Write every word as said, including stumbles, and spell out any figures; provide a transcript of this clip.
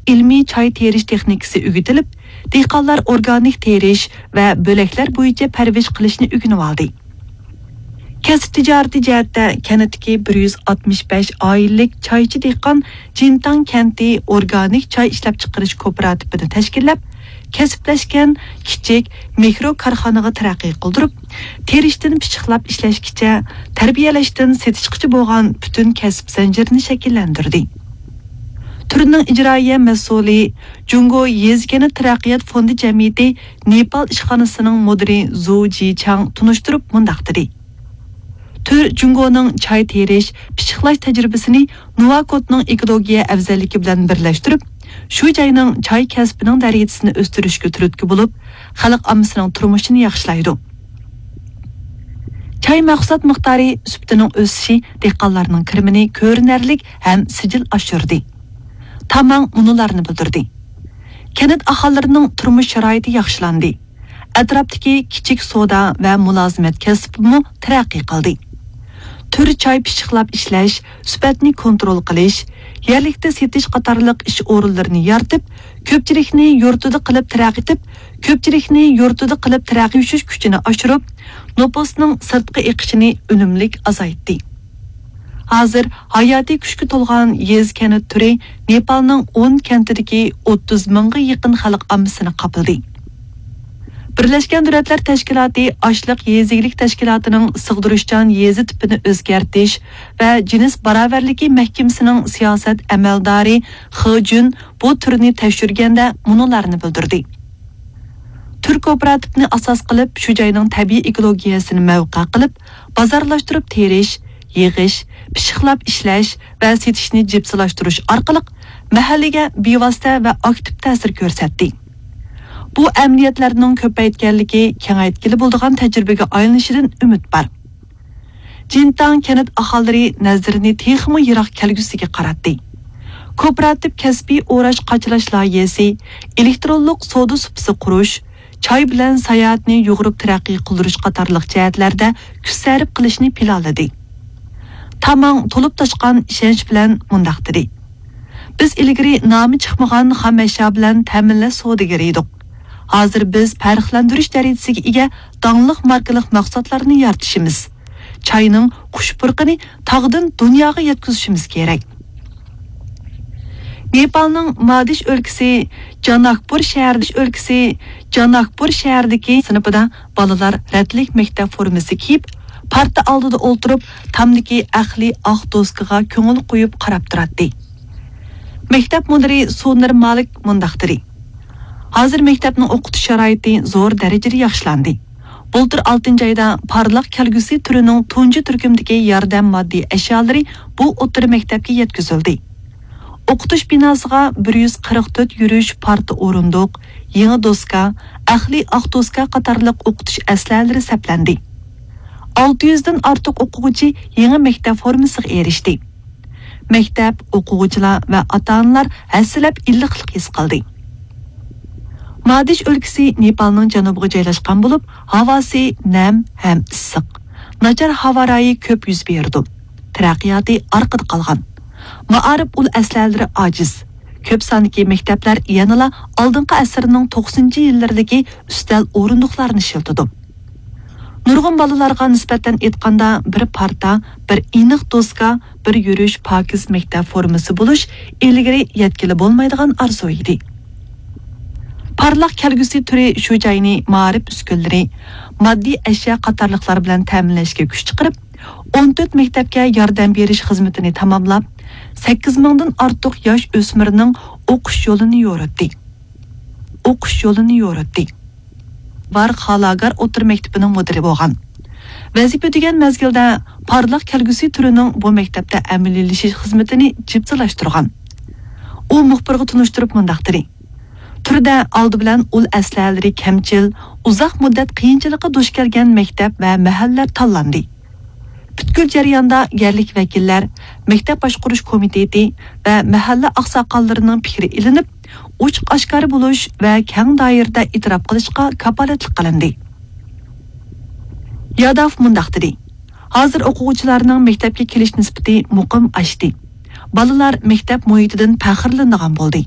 ئىلمىي چاي تېرىش تېخنىكىسى ئۆگىتىلىپ، دېھقانلار ئورگانىك تېرىش ۋە بۆلەكلەر بويىچە پەرۋىش قىلىشنى ئۆگىنىۋالدى. كەسىپ تىجارىتى جەھەتتە كەنتتىكى بىر يۈز ئاتمىش بەش ئائىلىلىك چايچى دېھقان جىنتاڭ كەنتى ئورگانىك چاي ئىشلەپچىقىرىش كوپىراتىپىنى تەشكىللەپ، كەسىپلەشكەن كىچىك مىكرو كارخانىغا تەرەققىي قىلدۇرۇپ، تېرىشتىن پىششىقلاپ ئىشلەشكىچە، تەربىيەلەشتىن سېتىشقىچە بولغان پۈتۈن كەسىپ زەنجىرىنى شەكىللەندۈردى. تۈرنىڭ ئىجرائىيە مەسئۇلى، جۇڭگو يېزا كەنت تەرەققىيات فوندى جەمئىيىتى نېپال ئىشخانىسىنىڭ مۇدىرى زۇ جىچاڭ تونۇشتۇرۇپ مۇنداق دېدى: تۈر جۇڭگونىڭ چاي تېرىش، پىششىقلاش تەجرىبىسىنى نۇۋاكوتنىڭ ئېكولوگىيە ئەۋزەللىكى بىلەن بىرلەشتۈرۈپ، شۇ جاينىڭ چاي كەسپىنىڭ دەرىجىسىنى ئۆستۈرۈشكە تۈرتكە بولۇپ، خەلق ئاممىسىنىڭ تۇرمۇشىنى ياخشىلايدۇ. چاي مەھسۇلات مىقدارى، سۈپىتىنىڭ ئۆسۈشى دېھقانلارنىڭ كىرىمىنى كۆرۈنەرلىك ھەم سىجىل ئاشۇردى. تاماڭ مۇنۇلارنى بىلدۈردى: كەنت ئاھالىلىرىنىڭ تۇرمۇش شارائىتى ياخشىلاندى. ئەتراپتىكى كىچىك سودا ۋە مۇلازىمەت كەسپىمۇ تەرەققىي قىلدى. تۈر چاي پىششىقلاپ ئىشلەش، سۈپەتنى كونترول قىلىش، يەرلىكتە سېتىش قاتارلىق ئىش ئورۇنلىرىنى يارىتىپ، كۆپچىلىكنى يۇرتىدا قىلىپ تەرەققىي، كۆپچىلىكنى يۇرتىدا قىلىپ تەرەققىي ئۆسۈش كۈچىنى ئاشۇرۇپ، نوپۇسنىڭ سىرتقا ئېقىشىنى ئۈنۈملۈك ئازايتتى. ھازىر ھاياتىي كۈچكە تولغان يېزا كەنت تۈرى نېپالنىڭ ئون كەنتىدىكى ئوتتۇز مىڭغا يېقىن خەلق ئاممىسىنى قاپلىدى. بىرلەشكەن دۆلەتلەر تەشكىلاتى ئاشلىق يېزا ئىگىلىك تەشكىلاتىنىڭ سىغدۇرۇشچان يېزا تىپىنى ئۆزگەرتىش ۋە جىنس باراۋەرلىكى مەھكىمىسىنىڭ سىياسەت ئەمەلدارى خې جۈن بۇ تۈرنى تەكشۈرگەندە مۇنۇلارنى بىلدۈردى: تۈر كوپىراتىپنى ئاساس قىلىپ، شۇ جاينىڭ تەبىئىي ئېكولوگىيەسىنى مەۋقە قىلىپ، بازارلاشتۇرۇپ تېرىش، يىغىش، پىششىقلاپ ئىشلەش ۋە سېتىشنى جىپسىلاشتۇرۇش ئارقىلىق مەھەللىگە بىۋاسىتە ۋە ئاكتىپ تەسىر كۆرسەتتى. بۇ ئەمەلىيەتلەرنىڭ كۆپەيتكەنلىكى، كېڭەيتكىلى بولىدىغان تەجرىبىگە ئايلىنىشىدىن ئۈمىد بار. جىنتاڭ كەنت ئاھالىلىرى نەزىرىنى تېخىمۇ يىراق كەلگۈسىگە قاراتتى. كوپىراتىپ كەسپىي ئوراش قاچىلاش لايىھەسى، ئېلېكترونلۇق سودا سۇپىسى قۇرۇش، چاي بىلەن ساياھەتنى يۇغۇرۇپ تەرەققىي قىلدۇرۇش قاتارلىق جەھەتلەردە كۈچ سەرپ قىلىشنى پىلانلىدى. تاماڭ تولۇپ تاشقان ئىشەنچ بىلەن مۇنداق دېدى: بىز ئىلگىرى نامى چىقمىغان خام ئەشيا بىلەن تەمىنلەش سودىگىرى ئىدۇق. ھازىر بىز پەرقلەندۈرۈش دەرىجىسىگە ئىگە داڭلىق ماركىلىق مەھسۇلاتلارنى يارىتىشىمىز. چاينىڭ خۇش پۇرىقىنى تاغدىن دۇنياغا يەتكۈزۈشىمىز كېرەك. نېپالنىڭ مادىش ئۆلكىسى جاناكپۇر شەھەر، ئۆلكىسى جاناكپۇر شەھەردىكى سىنىپىدا بالىلار رەتلىك مەكتەپ فورمىسى كىيىپ، پارتا ئالدىدا ئولتۇرۇپ، تامدىكى ئەقلىي ئاق دوسكىغا كۆڭۈل قويۇپ قاراپ تۇراتتى. مەكتەپ مۇدىرى سۇنىر مالىك مۇنداق دېدى: ھازىر مەكتەپنىڭ ئوقۇتۇش شارائىتى زور دەرىجىدە ياخشىلاندى. بۇلتۇر ئالتىنچى ئايدا پارلاق كەلگۈسى تۈرىنىڭ تۇنجى تۈركۈمدىكى ياردەم ماددىي ئەشيالىرى بۇ ئوتتۇرا مەكتەپكە يەتكۈزۈلدى. ئوقۇتۇش بىناسىغا بىر يۈز قىرىق تۆت يۈرۈش پارتا ئورۇندۇق، يېڭى دوسكا، ئەقلىي ئاق دوسكا قاتارلىق ئوقۇتۇش ئەسلىھەلىرى سەپلەندى. ئالتە يۈزدىن ئارتۇق ئوقۇغۇچى يېڭى مەكتەپ فورمىسىغا ئېرىشتى. مەكتەپ، ئوقۇغۇچىلار ۋە ئاتا-ئانىلار ھەسسىلەپ ئىللىقلىق ھېس قىلدى. مادىش ئۆلكىسى نېپالنىڭ جەنۇبىغا جايلاشقان بولۇپ، ھاۋاسى نەم ھەم ئىسسىق. ناچار ھاۋا رايى كۆپ يۈز بېرىدۇ. تەرەققىياتى ئارقىدا قالغان. مائارىپ ئۇل ئەسلىھەلىرى ئاجىز. كۆپ ساندىكى مەكتەپلەر يەنىلا ئالدىنقى ئەسىرنىڭ توقسىنىنچى يىللىرىدىكى ئۈستەل ئورۇندۇقلارنى ئىشلىتىدۇ. نۇرغۇن بالىلارغا نىسبەتەن ئېيتقاندا، بىر پارتا، بىر ئېنىق دوسكا، بىر يۈرۈش پاكىز مەكتەپ فورمىسى بولۇش ئىلگىرى يەتكىلى بولمايدىغان ئارزۇ ئىدى. پارلاق كەلگۈسى تۈرى شۇ جاينى مائارىپ ئۈسكۈنىلىرى، ماددىي ئەشيا قاتارلىقلار بىلەن تەمىنلەشكە كۈچ چىقىرىپ، ئون تۆت مەكتەپكە ياردەم بېرىش خىزمىتىنى تاماملاپ، سەككىز مىڭدىن ئارتۇق ياش ئۆسمۈرنىڭ ئوقۇش يولىنى يورۇتتى. ئوقۇش يولىنى يورۇتتى. بار خالاگار ئوتتۇرا مەكتىپىنىڭ مۇدىرى بولغان. ۋەزىپە ئۆتىگەن مەزگىلدە پارلاق كەلگۈسى تۈرىنىڭ بۇ مەكتەپتە ئەمەلىيلىشىش خىزمىتىنى جىپسىلاشتۇرغان. ئۇ مۇخبىرغا تونۇشتۇرۇپ مۇنداق دېدى: تۈردە ئالدى بىلەن ئۇل ئەسلىھەلىرى كەمچىل، ئۇزاق مۇددەت قىيىنچىلىققا دۇچ كەلگەن مەكتەپ ۋە مەھەللىلەر تاللاندى. پۈتكۈل جەرياندا يەرلىك ۋەكىللەر، مەكتەپ باشقۇرۇش كومىتېتى ۋە مەھەللە ئاقساقاللىرىنىڭ پىكرى ئېلىنىپ، ئوچۇق ئاشكارا بولۇش ۋە كەڭ دائىرىدە ئېتىراپ قىلىشقا كاپالەتلىك قىلىندى. ياداف مۇنداق دېدى: ھازىر ئوقۇغۇچىلارنىڭ مەكتەپكە كېلىش نىسبىتى مۇقىم ئاشتى. بالىلار مەكتەپ مۇھىتىدىن پەخىرلىنىدىغان بولدى.